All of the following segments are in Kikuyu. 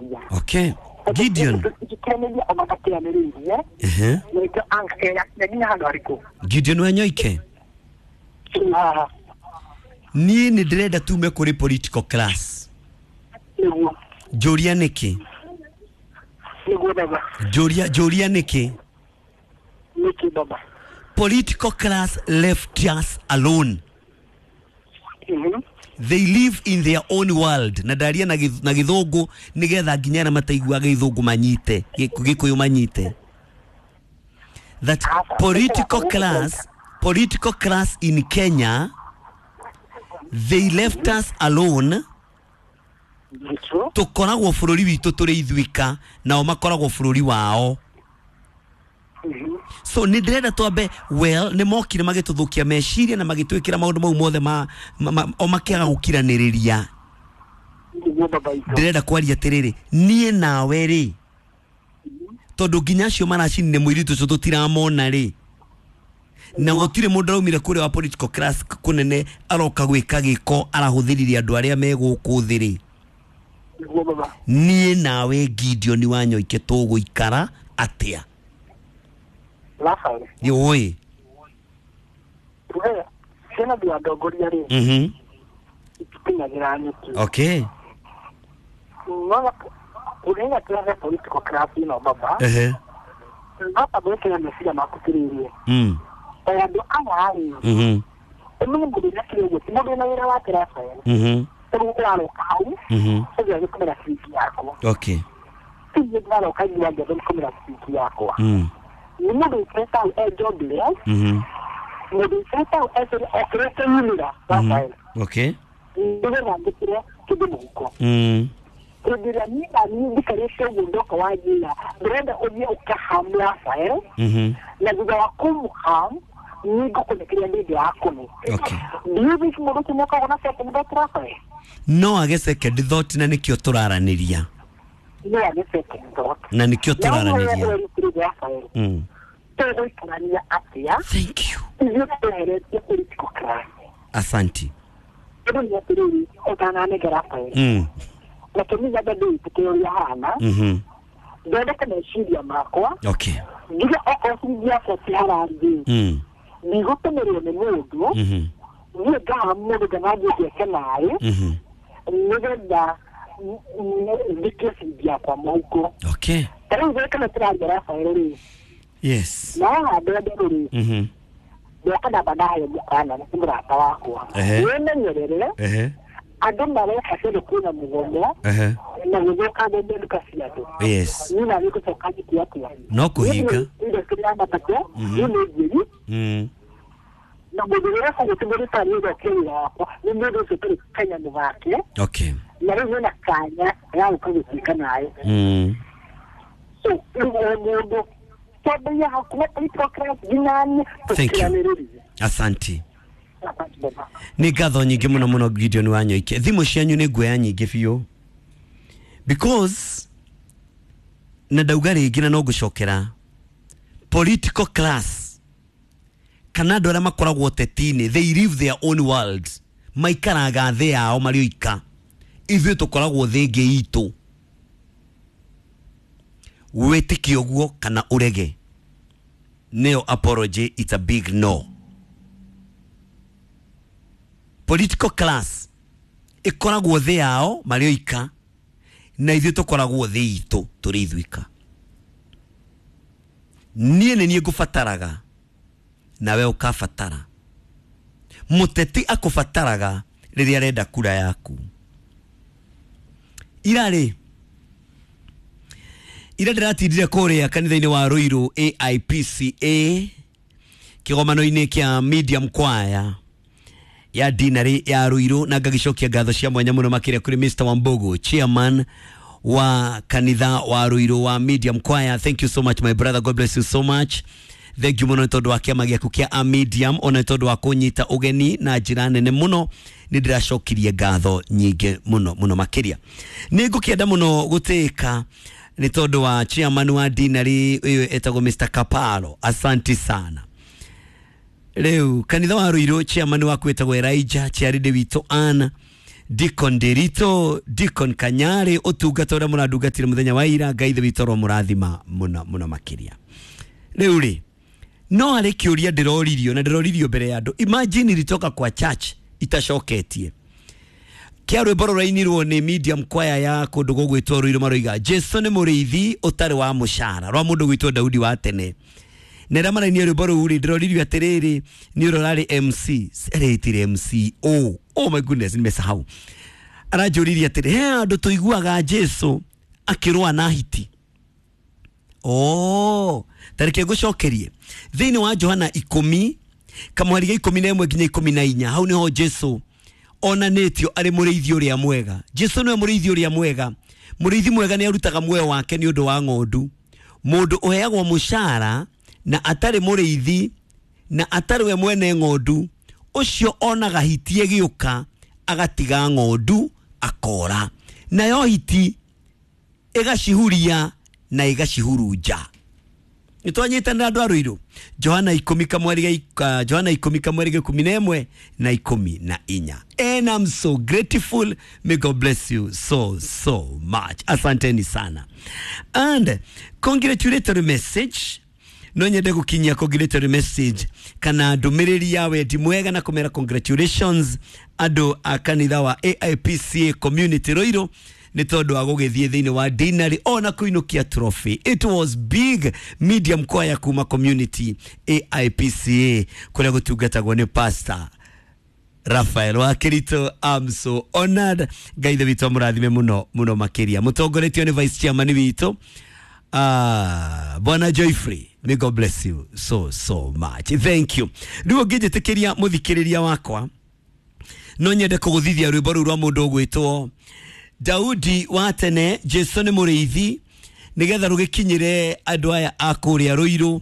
Tũgũkiranĩria. Okay, Gideon. Tũkiranĩria ona matiranĩrĩirie. Nĩkĩo anga nginya handũ harĩkũ. Gideon Wanyoike. Haha. Niĩ nĩ ndĩrenda tume kũrĩ political class. Nĩguo. Njũria nĩkĩ? Nĩguo baba. Njũria nĩkĩ? Nĩkĩ baba? Political class left us alone. They live in their own world. Na ndaria na na gĩthũngũ nĩgetha nginya arĩa mataiguaga gĩthũngũ manyite, gĩkũyũ manyite. That political class in Kenya, they left us alone. Nĩguo. Tũkoragwo bũrũri witũ tũrĩ ithuika, nao makoragwo bũrũri wao. So nĩ ndĩrenda twambe, well, nĩ mokire magĩtũthũkia meciria na magĩtwĩkĩra maũndũ mau mothe ma o makĩaga gũkiranĩrĩria. Nĩguo baba itũ. Ndĩrenda kwaria atĩrĩrĩ, niĩ nawe rĩ, tondũ nginya acio maracinire mũirĩtu ũcio tũtiramona rĩ, na gũtirĩ mũndũ araumire kũrĩa wa political class kũnene aroka gwĩka gĩko arahũthĩrire andũ arĩa me gũkũ thĩ rĩ. Nĩguo baba. Niĩ nawe Gideon Wanyoike tũgũikara atĩa? Rafael. Oi. Tuge ciana thĩ ndongoria rĩ, itikinyagĩra nyeki. Nona ũrĩa kĩrahe political class ĩno baba. Baba, gwĩkĩra meciria maku tirĩrie. Ta andũ aya rĩ, ũmenye mũndũ ũrĩa kĩrĩ ũguo ti mũndũ wĩna wĩra wake, Rafael. Rĩu ũraroka hau ũgĩa gũtũmĩra ciringi yakwa. Ti niĩ ndĩraroka inyua ngĩenda gũtũmĩra ciringi yakwa. Nĩ mũndũ ũikarĩte hau e jobless, mũndũ ũikarĩte hau okĩrĩte yumĩra, Rafael, nĩgetha njĩkĩre kĩndũ mũhuko. Hĩndĩ ĩrĩa niĩ na niĩ njikarĩte ũguo ndoka wanjĩra ndĩrenda ũthiĩ ũkaham Rafael, na thutha wa kũmũham niĩ ngũkũne kĩrĩa ndĩ yakũne. Do you think mũndũ ũcio nĩakoragwo na second thought, Rafael? No age second thought, na nĩkĩo tũraranĩria. No age second thought. Na nĩkĩo tũraranĩria. Rafael, tũgũikarania atĩa? Thank you. Ithuĩ tweheretie political class. Asanti. Tondũ nĩ atĩrĩrĩ, ũtananenge Rafael, reke niĩ nyambe ndĩitĩke ũrĩa hana, thondeke meciria makwa, nginya okorwo ciringi yakwa ti harambĩ, ndigũtũmĩrwo nĩ mũndũ. Niĩ ngaha mũndũ nganathiĩ ngeke naĩ nĩgetha thikie ciringi yakwa mũhuko. Ta rĩu gwĩka tũraria, Rafael rĩ, na haha mbembe rĩ, ndoka ndamba ndahe mũkana nĩ mũrata wakwa. Wĩmenyerere. Andũ mareka kĩndũ kwĩna mũgomo na gũthũkangia nduka cia andũ. Niĩ na nĩngũcoka njĩke atĩa? No kũhinga. Indo kĩrĩa matatũ niĩ nĩ njĩri, na mũndũ ũrĩa ũgũtũmĩrĩta nĩ ũthũkie wĩra wakwa nĩ mũndũ ũcio ũtarĩ kanyamũ gake. Na rĩu hena kanya ga gũka gũtuĩka naĩ. So rĩu o mũndũ twambĩrĩria hakuhĩ political class nginya niĩ. Thank you. Tũkiranĩrĩrie. Asanti. Asante baba. Nĩ ngatho nyingĩ mũno mũno, Gideon Wanyoike. Thimũ cianyu nĩ nguoya nyingĩ biũ because na ndauga rĩngĩ na no ngũcokera, political class kana andũ arĩa makoragwo ũteti-inĩ, they live their own world, maikaraga thĩ yao marĩ oika. Ithuĩ tũkoragwo thĩ ĩngĩ itũ. Wĩtĩkie ũguo kana ũrege, nĩyo apology, it's a big no. Political class ĩkoragwo thĩ yao marĩ oika, na ithuĩ tũkoragwo thĩ itũ tũrĩ ithuika. Niĩ nĩ niĩ ngũbataraga nawe ũkabatara. Mũteti akũbataraga rĩrĩa arenda kura yaku. Irarĩ ira ndĩratindire kũrĩa kanitha-inĩ wa Ruiru AIPCA kĩgomano-inĩ kĩa Medium Choir ya dinarĩ ya Ruiru, na ngagĩcokia ngatho cia mwanya mũno makĩria kũrĩ Mr Wambogo, chairman wa kanitha wa Ruiru wa Medium Choir. Thank you so much, my brother. God bless you so much. Thank you mũno nĩ tondũ wa kĩama gĩaku kĩa a Medium, ona nĩ tondũ wa kũnyita ũgeni na njĩra nene mũno. Nĩ ndĩracokirie ngatho nyingĩ mũno mũno makĩria. Nĩ ngũkĩenda mũno gũtĩĩka nĩ tondũ wa chairman wa dinarĩ ũyũ etagwo Mr Kaparo. Asanti sana. Rĩu kanitha wa Ruiru, chairman waku wĩtagwo Elijah, chairlady witũ Anna. Deacon Derito, Deacon Kanyari, ũtungata ũrĩa mũrandungatire mũthenya wa ira, Ngai ithe witũ aromũrathima mũno mũno makĩria. Rĩu rĩ, no harĩ kĩũria ndĩroririo na ndĩroririo mbere ya andũ. Imagine ilitoka kwa church itacoketie. Kĩa rwĩmbo rũrainirwo nĩ medium choir ya kũndũ gũgwĩtwo Ruiru, maroiga Jesu nĩ mũrĩithi ũtarĩ wa mũcara, rwa mũndũ gwĩtwo Daudi wa tene. Na rĩrĩa marainie rwĩmbo rũu rĩ, ndĩroririo atĩrĩrĩ, nĩ ũrĩa ũrarĩ MC, eretire MC, oh my goodness, nimesahau. Aranjũririe atĩrĩ, he handũ tũiguaga Jesu akĩrũa na hiti. Oh, tareke ngũcokerie thĩinĩ wa Johana 10 kamweri ga 11 nginya 14, hau nĩho Jesu onanĩtio arĩ mũrĩithi ũrĩa mwega. Jesu nĩwe mũrĩithi ũrĩa mwega. Mũrĩithi mwega nĩ arutaga muoyo wake nĩ ũndũ wa ng'ondu. Mũndũ ũheagwo mũcara na atarĩ mũrĩithi na atarĩ we mwene ng'ondu, ũcio onaga hiti ĩgĩũka agatiga ng'ondu akora, nayo hiti ĩgacihuria na ĩgacihurunja. Nĩtwanyitanĩra andũ a Ruiru. Johana 10 kamweri ga Johana 10 kamweri ga 11 na 14. And I'm so grateful. May God bless you so so much. Asanteni sana. And congratulatory message, no nyende gukinyia congratulatory message kana ndũmĩrĩri ya wendi mwega na kũmera congratulations andũ a kanitha wa AIPCA community Ruiru nĩ tondũ wa gũgĩthiĩ thĩinĩ wa dinari ona kũinũkia trophy. It was big medium choir kuma community AIPCA kũrĩa gũtungatagwo nĩ Pastor Rafael wa Kirito. I'm so honored. Ngai ithe witũ amũrathime mũno mũno makĩria. Mũtongoretio nĩ vice chairman witũ Bwana Joyfrey. May God bless you so so much. Thank you. Rĩu ũngĩnjĩtĩkĩria mũthikĩrĩria wakwa, no nyende kũgũthithia rwĩmbo rũu rwa mũndũ ũgwĩtwo Daudi wa tene, Jesu nĩ mũrĩithi, nĩgetha rũgĩkinyĩre andũ aya a kũrĩa Ruiru.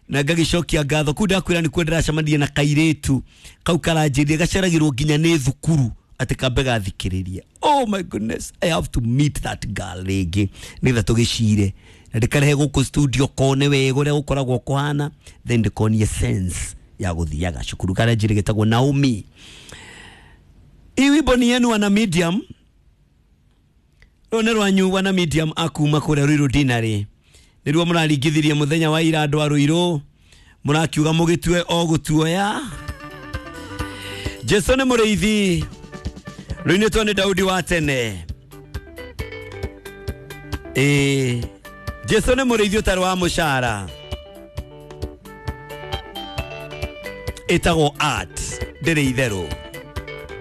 Na ngagĩcokia ngatho kũu ndakwĩra nĩkuo ndĩracemania na kairĩtu kau karanjĩrire gaceragĩrwo nginya nĩ thukuru atĩ kambe gathikĩrĩrie. Oh my goodness, I have to meet that girl rĩngĩ nĩgetha tũgĩcire na ndĩkarehe gũkũ studio kone wega ũrĩa gũkoragwo kũhana, then ndĩkonie sense ya gũthiaga cukuru. Karanjĩrire gĩtagwo Naomi. Hii wimbo ni yenu wana medium, rũrũ nĩ rwanyu wana medium akuma kũrĩa Ruiru dinarĩ. Nĩruo mũraringithirie mũthenya wa ira andũ a Ruiru, mũrakiuga mũgĩtue o gũtuoya. Jesu nĩ mũrĩithi, rũinĩtwo nĩ Daudi wa tene. Jesu nĩ mũrĩithi ũtarĩ wa mũcara, ĩtagwo art, ndĩrĩ itherũ.